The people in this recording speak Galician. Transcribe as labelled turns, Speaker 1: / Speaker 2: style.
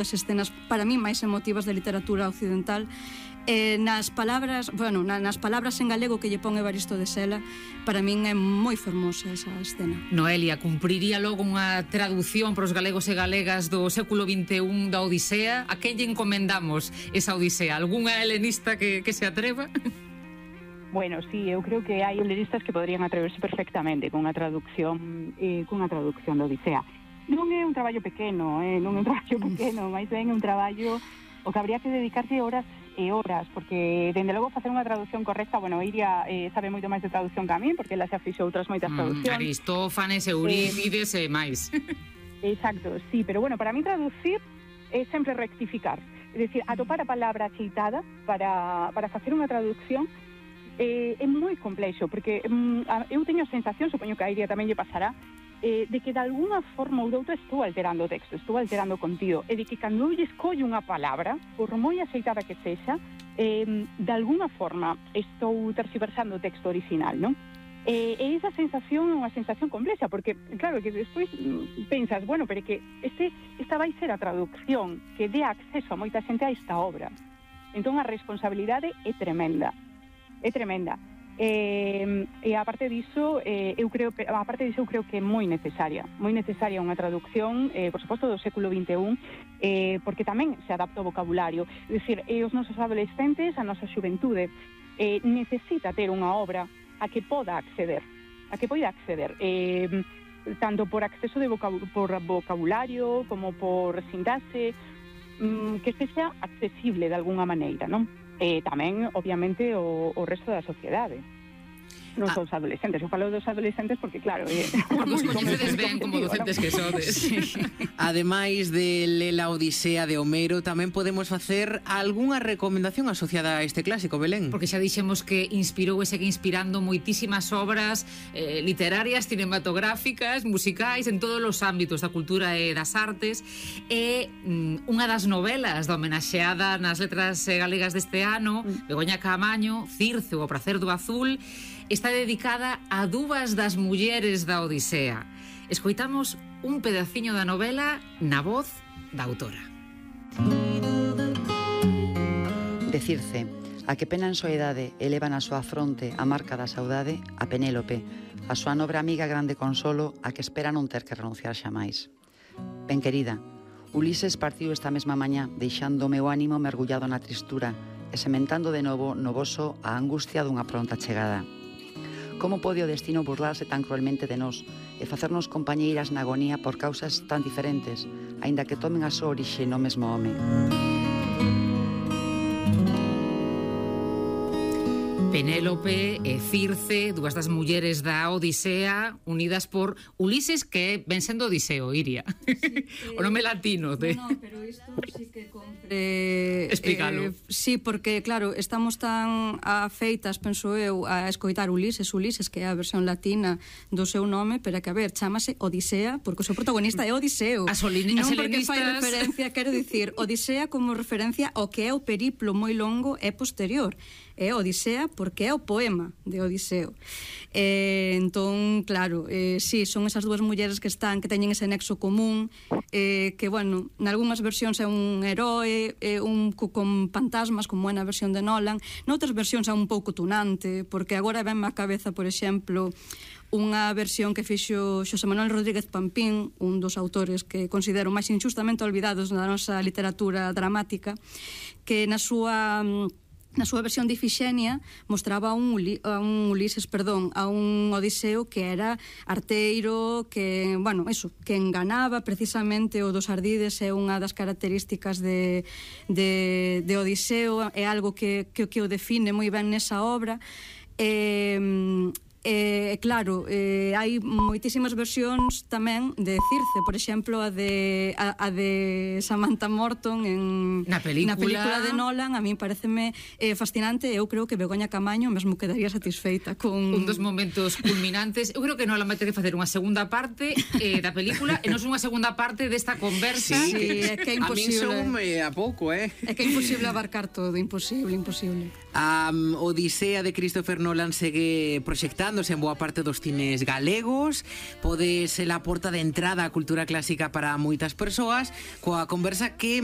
Speaker 1: das escenas para mí máis emotivas da literatura occidental. Nas palabras en galego que lle pon Evaristo de Sela, para min é moi fermosa esa escena.
Speaker 2: Noelia, cumpriría logo unha traducción para os galegos e galegas do século XXI da Odisea? A quen lle encomendamos esa Odisea? Algúnha helenista que se atreva?
Speaker 3: Bueno, sí, eu creo que hai helenistas que poderían atreverse perfectamente con unha traducción da Odisea. Non é un traballo pequeno, máis ben é un traballo o que habría que dedicarse horas e horas, porque, dende logo, facer unha traducción correcta, bueno, Iria sabe moito máis de traducción que a mí, porque ela xa fixo outras moitas traduccións.
Speaker 2: Aristófanes, Eurípides e máis.
Speaker 3: Exacto, sí, pero bueno, para mí traducir é sempre rectificar. É dicir, atopar a palabra acheitada para facer unha traducción é moi complexo, porque eu teño a sensación, supoño que a Iria tamén lle pasará, de que de alguna forma ou doutra estou alterando o texto, estou alterando o contido, e de que cando eu lle escollo unha palabra, por moi aceitada que sexa, de alguna forma estou terxiversando o texto original, non? E esa sensación é unha sensación complexa, porque, claro, que despois pensas, bueno, pero que esta vai ser a traducción que dé acceso a moita xente a esta obra. Entón a responsabilidade é tremenda. E aparte diso, eu creo que é moi necesaria unha traducción, por suposto, do século XXI, porque tamén se adapta o vocabulario. É dicir, os nosos adolescentes, a nosa xuventude, necesita ter unha obra a que poida acceder, tanto por acceso por vocabulario como por sintaxe, que sexa accesible de alguna maneira, non? Tamén, obviamente, o resto da sociedade. Non son os adolescentes, eu falo dos adolescentes porque, claro,
Speaker 2: porque os coñecedes ben como docentes que sodes.
Speaker 4: Sí. Ademais de ler a Odisea de Homero, tamén podemos facer algunha recomendación asociada a este clásico, Belén?
Speaker 2: Porque xa dixemos que inspirou e segue inspirando moitísimas obras literarias, cinematográficas, musicais, en todos os ámbitos da cultura e das artes. E unha das novelas da homenaxeada nas letras galegas deste ano, Begoña Caamaño, Circe, o pracer do azul, está dedicada a dúas das mulleres da Odisea. Escoitamos un pedaciño da novela na voz da autora.
Speaker 5: De Circe, a que pena en soidade eleva na súa fronte a marca da saudade, a Penélope, a súa nobre amiga grande consolo, a que espera non ter que renunciar xamais. Ben querida, Ulises partiu esta mesma mañá, deixando o meu ánimo mergullado na tristura e sementando de novo no voso a angustia dunha pronta chegada. Como pode o destino burlarse tan cruelmente de nós e facernos compañeiras na agonía por causas tan diferentes, aínda que tomen a súa orixe no mesmo home?
Speaker 2: Penélope e Circe, dúas das mulleres da Odisea, unidas por Ulises, que ven sendo Odiseo, Iria. Sí, o nome latino de...
Speaker 1: No, pero isto sí que compre...
Speaker 2: Explícalo.
Speaker 1: Sí, porque, claro, estamos tan afeitas, penso eu, a escoitar Ulises, que é a versión latina do seu nome, pero que, a ver, chámase Odisea, porque o seu protagonista é Odiseo.
Speaker 2: Non
Speaker 1: porque fai referencia, quero dicir, Odisea como referencia ao que é o periplo moi longo e posterior. É Odisea porque é o poema de Odiseo. Entón, claro, sí, son esas dúas mulleres que teñen ese nexo común, que, bueno, nalgúnas versións é un heroe, con fantasmas, como é na versión de Nolan, noutras versións é un pouco tunante, porque agora venme á cabeza, por exemplo, unha versión que fixo Xosé Manuel Rodríguez Pampín, un dos autores que considero máis injustamente olvidados na nosa literatura dramática, que na súa versión de Ifixenia mostraba a un Odiseo que era arteiro, que, bueno, eso, que enganaba precisamente. O dos ardides é unha das características de Odiseo, é algo que o define moi ben nesa obra. Claro, hai moitísimas versións tamén de Circe, por exemplo, a de Samantha Morton na película de Nolan. A mí pareceme fascinante. Eu creo que Begoña Caamaño mesmo quedaría satisfeita con
Speaker 2: un dos momentos culminantes. Eu creo que Nolan vai ter que facer unha segunda parte da película e non unha segunda parte desta conversa.
Speaker 1: Sí, é que é imposible.
Speaker 4: A min soume a pouco,
Speaker 1: É que é imposible abarcar todo, imposible.
Speaker 4: A Odisea de Christopher Nolan segue proxectándose en boa parte dos cines galegos. Pode ser a porta de entrada á cultura clásica para moitas persoas, coa conversa que